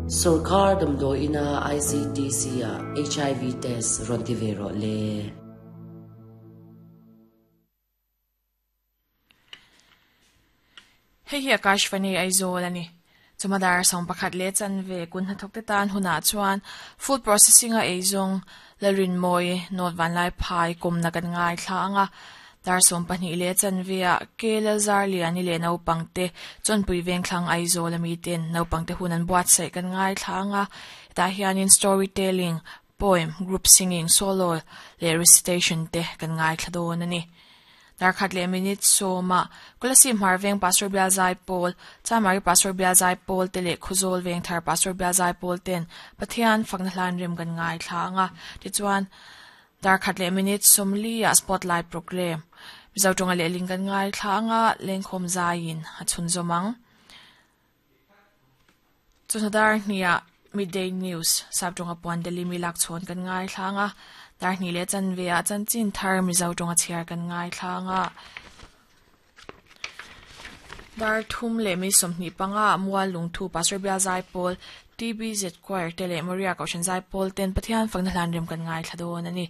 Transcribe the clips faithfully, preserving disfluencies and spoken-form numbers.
Sorkar damdawi ina I C T C ah H I V test rawn ti ve rawh le. Hei hi Akashvani Aizawl a ni. Chumadar sawm pakhat leh chanve kun hnathawk te tan hunah chuan food processing a eizawng Lalrinmawi North Vanlai Phai kawmna kan ngai thla anga dar sawm pahnih leh chanve ah K Lalzar Liani leh naupang te chawnpui vengthlang Aizawl ami ten naupang te hun an buatsaih kan ngai thla anga hetah hianin storytelling, poem, group singing, solo leh recitation te kan ngai thla dawn a ni. Dar khat leh minute sawma Kolasib hmar veng Pastor Bial Zai Pawl, Chamari Pastor Bial Zai Pawl te leh Khawzawl veng thar Pastor Bial Zai Pawl ten Pathian fakna hlan rem kan ngai thla anga tichuan dar khat leh minute sawmli ah spotlight program Mizo tawnga lehling kan ngai thla anga lengkhawm zaiin a chhun zawm ang. Chawhnu dar hniah midday news sap tawnga puan Delhi mi lak chhawn kan ngai thla anga dar hnih leh chanve ah chanchin thar Mizo tawnga chhiar kan ngai thla anga dar thum leh mi sawmhnih panga mual lungthu Pastor Bial Zai Pawl T B Z Choir te leh Maria Kohhran Zai Pawl ten Pathian fakna hlan rem kan ngai thla dawn a ni.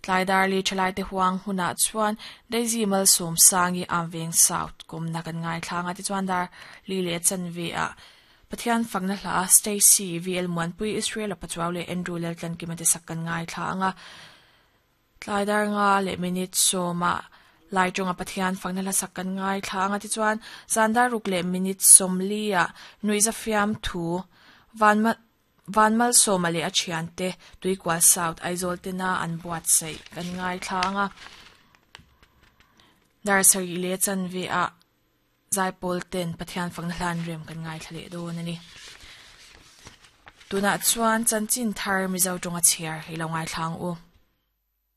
Tlai dar li thalai te huang hunah chuan Daisy Malsawm Sangi Amveng South kawmna kan ngai thla anga tichuan dar li leh chanve ah Pathian fakna hla Stacy V L Muanpui Israel a Pachuau leh Andrew Laltlan Kim te sak kan ngai thla anga tlai dar nga leh minute sawma lai tawnga Pathian fakna hla sak kan ngai thla anga tichuan zan dar ruk leh minute sawmli ah nuihza fiam thu van van Malsawma leh a thian te Tuikual South Aizawl tena an buatsaih kan ngai thla anga dar sarih leh chanve ah Zai Pawl ten Pathian fakna hlan rem kan ngai thla leh dawn a ni. Tunah chuan chanchin thar Mizo tawnga chhiar hi lo ngai thla ang u.